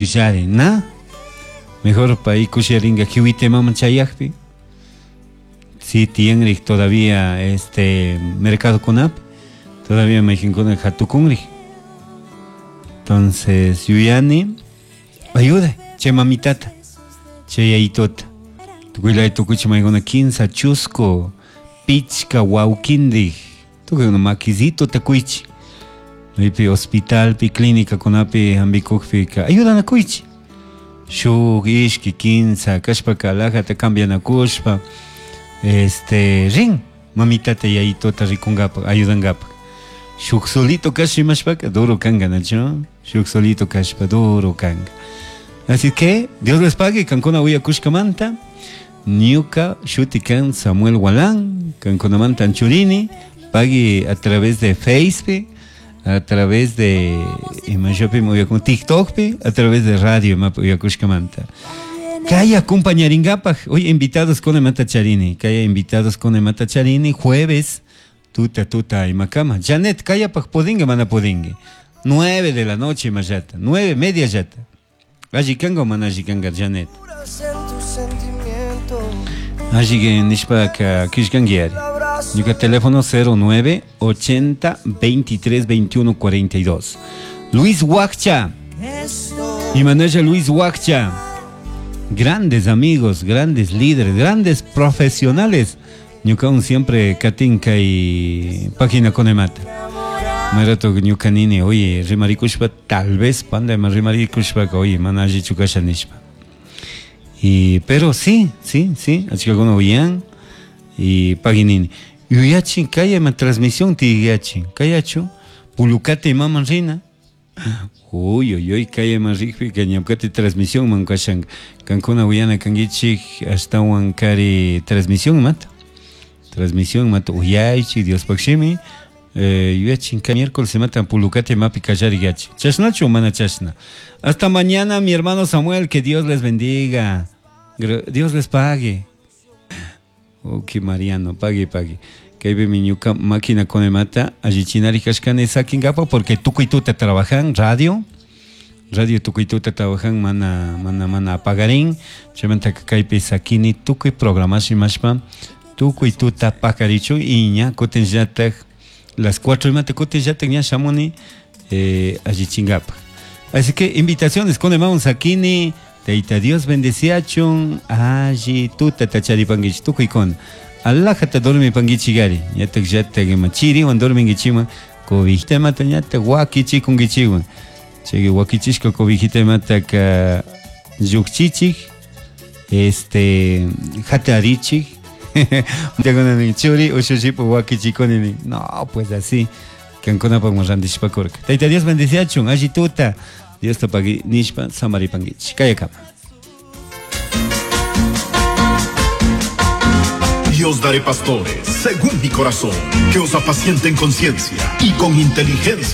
Yari, na? Mejor pay kushiyaringa kiwitemaman chayakpi. Si tiyanrik todavía este mercadokunapi, todavía mayqinkuna hatukunrik. Entonces, yuyani, ayuda, chay mamitata, chay yayitota. Tukuylaya tukuchi maykuna kinsa chusku, pichka wawkindik, tukuykuna makisitota kuychi. Maypi hospitalpi, clínicakunapi hampikukpika ayudanakuychik. Shuk, ishki, kinsa, kashpaka alajata cambianakushpa, este, rin mamitata yayitota rikunkapak, ayudankapak. Shuk solito kashpa imashpaka duro kanka, nachu? Shuk solito kashpa duro kanka. Así que Dios les pague, kankuna uyakushkamanta. Ñuka shuti kan Samuel Gualán, kankunamanta anchurini, pagui a través de Facebook, a través de imashopi uyakun TikTokpi, a través de radio imapi uyakushkamanta. Kay acompañarinkapak, hoy invitados con Emata Charini, kaya invitados con Emata Charini, jueves, tuta tuta imakama. Janet, kayapak pudingue mana pudingue. 9 de la noche imallata, 9:30 llata. Alli kanga o mana alli kanga, Janet? Alli que nishpaka kishkanguiari. Ñuka teléfono 09 80 23 21 42. Luis Huaccha. Y Manuel Luis Huaccha. Grandes amigos, grandes líderes, grandes profesionales. Ñuka siempre katinka y página con emata. Marato ñuka nini, oye, rimarikushpa, tal vez panda rimarikushpa, oye, mana alli chukasha nishpa. Y, pero sí, sí, sí, achikakuna uyan y paginini. Yuyachin, kaya ma transmisión tiyachin, kayachu, pulukate imaman rina. Uy, uy, uy, kaya ma rikpi, que ñamkate transmisión man kashan. Kankuna uyana kangichik, ashtawan kari transmisión mata. Transmisión mata, uyaychi, Dios pakshimi. Yuyachin, ka miércoles se matan pulukate mapi kallari yachi. Chashnachu mana chashna. Hasta mañana, mi hermano Samuel, que Dios les bendiga. Dios les pague. Ok, Mariano, pague, pague. Que ahí mi ñuka máquina con el mata, allí chinari kashkane sakin gapa, porque tukuy tuta trabajan, radio. Radio tukuy tuta trabajan, mana, mana, mana apagarín. Chaymanta kaypi sakini tukuy programación mashpa, tukuy tuta pakarichu, y ña, kutin llatak, las 4 y mate, kutin llatak ña shamuni, allí chingapa. Así que invitaciones con el maun sakini, Taita Dios bendeciachun, allí tuta tachari panguich, tukuy con. Alajata dormi panguichi gari, ñatak yatak ima chiriwan dorminguichiman, cobijita mata ñatak wakichi kunguichiwan. Chay wakichishka cobijita mataka yukchichik, hatarichik. Churi ushushipu wakichikuni nin. No, pues así. Kankunapaq randishpakurka. Taita Dios bendeciachun, alli tuta. Dios te pagui nishpa samaripanguichi. Kayakama. Dios daré pastores, según mi corazón, que os apacienten con ciencia y con inteligencia.